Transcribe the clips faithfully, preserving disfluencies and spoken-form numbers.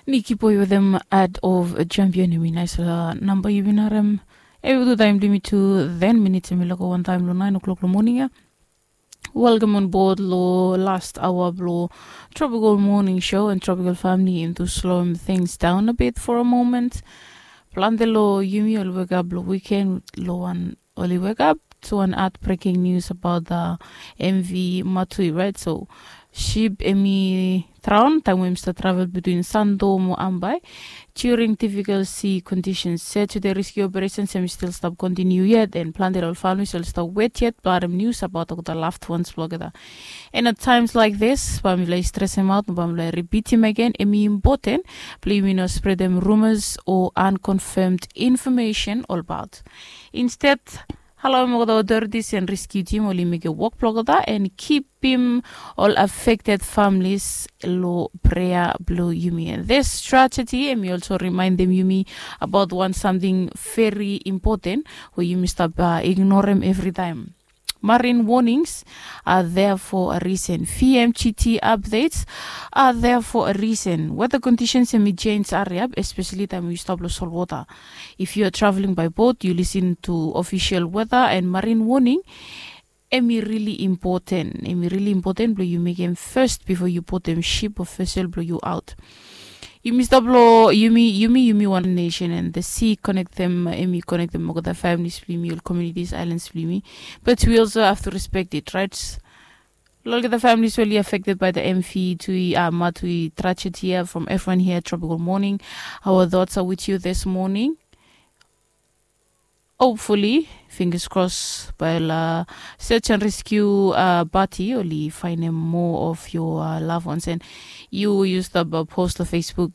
Niki Boy wetem Ad of Champion, hemi naisfala namba yumi bin harem. Hemi tu taem blong yumi tu ten minits hemi lago wantaem long nine o'clock long moning ia. Welcome on board long last hour blong Tropical Morning Show and Tropical Family. Hemi tu sloem things down a bit for a moment. Plante long yumi oli wekap long weekend long wan oli wekap to wan heartbreaking news about the M V Matui, right? So ship hemi draon taem we hemi stap travel between Santo mo Ambae during difficult sea conditions. Search o the rescue operations hemi stil stap kontiniu yet, and plante long ol families oli stap wet yet blong harem news about olgeta loved ones blong olgeta. And at times like this, bae mifala i stresem aot, bae mifala i ripitim agen, hemi impoten blong yumi no spretem rumors o unconfirmed information olbaot. Instead, halaoem olgeta authorities and rescue team oli mekem wok blong olgeta and kipim ol affected families long prea blong yumi. And this tragedy hemi also rimaendem yumi about wan samting very important we yumi stap uh, ignorem evritaem. Marine warnings are there for a reason. V M G T updates are there for a reason. Weather conditions hemi change hariap, especially taem yu stap long solwota. If you are traveling by boat, you listen to official weather and marine warning. Hemi really important. Hemi really important blong yu mekem first before yu botem ship o vessel blong yu aot. Yumi stap long yumi yumi yumi wan nation, and the sea connectem, hemi connectem olgeta families blong yumi, ol communities, islands blong yumi. But we also have to respect it, right? Long olgeta families we oli affected by the M V Tui uh, Matui tragedy ia, from everyone here, Tropical Morning, our thoughts are with you this morning. Hopefully, fingers crossed, bae ol uh, search and rescue uh, party oli faenem more of your uh, loved ones. And yu yu stap uh, post long Facebook,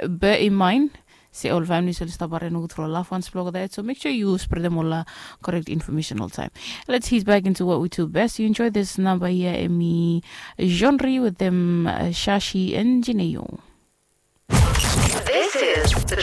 bear in mind se ol families oli stap harim nogud from loved ones blong olgeta, so make sure yu spreadem ol uh, correct information oltaem. Let's head back into what we do best. You enjoy this number here, hemi Genre wetem uh, Shashi and Jineo. This is the